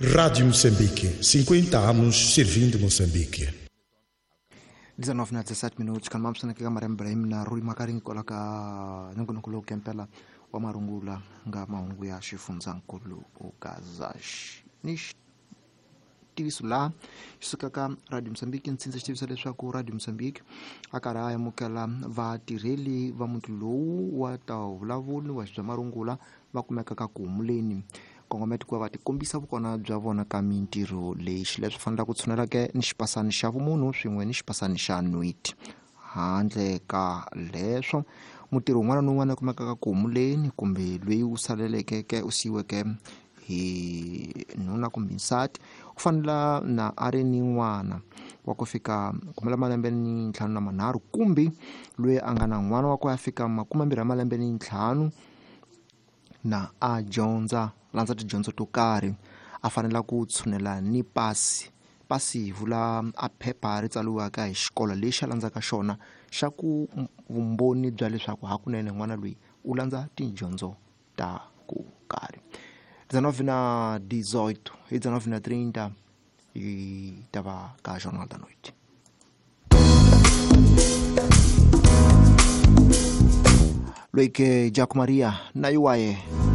Rádio Moçambique, 50 anos servindo Moçambique. 19 na 17 minutos kan mamsana ka Mariam Ibrahim na Rui Makaring kwala ka nongonoko lowu kempela wa marungula nga mahungu ya xifundzankulu ukazash ni xitiviso laha xi sukaka Radio Mozambique. Ndzi xi tivisa leswaku Radio Mozambique a karhi a amukela vatirheli va muti lowu wa ta vulavuli wa bya marungula va kumeka ka ku humuleni kongometi ku va tikombisa vukona bya vona ka mintirho leyi. Xileswi fanelaka ku tshunelake ni xipasani xa vumunhu swin'we ni xipasani xa nwiti. Handle ka leswo, mutirhi un'wana ni un'wana a kumekaka ku humuleni kumbe loyi u saleleke ke u siyiweke hi nuna kumbe nsati u fanela na a ri ni n'wana wa ku fika kumela malembe ni ntlhanu na manharhu kumbe loyi a nga na n'wana wa ku ya fika 25 ya malembe ni ntlhanu na a dyondza landza tidyondzo to karhi a fanela ku tshunela ni pasi. Pasi hi vula a phepha ri tsariwaka hi xikolo lexi a landzaka xona xa ku vumbhoni bya leswaku hakunene n'wana loyi u landza tidyondzo ta ku karhi. 19 na 18 hi 19 na 30 hi ta va ka Jornal da Noite. Loyi ke Jaco Maria na yuwaye.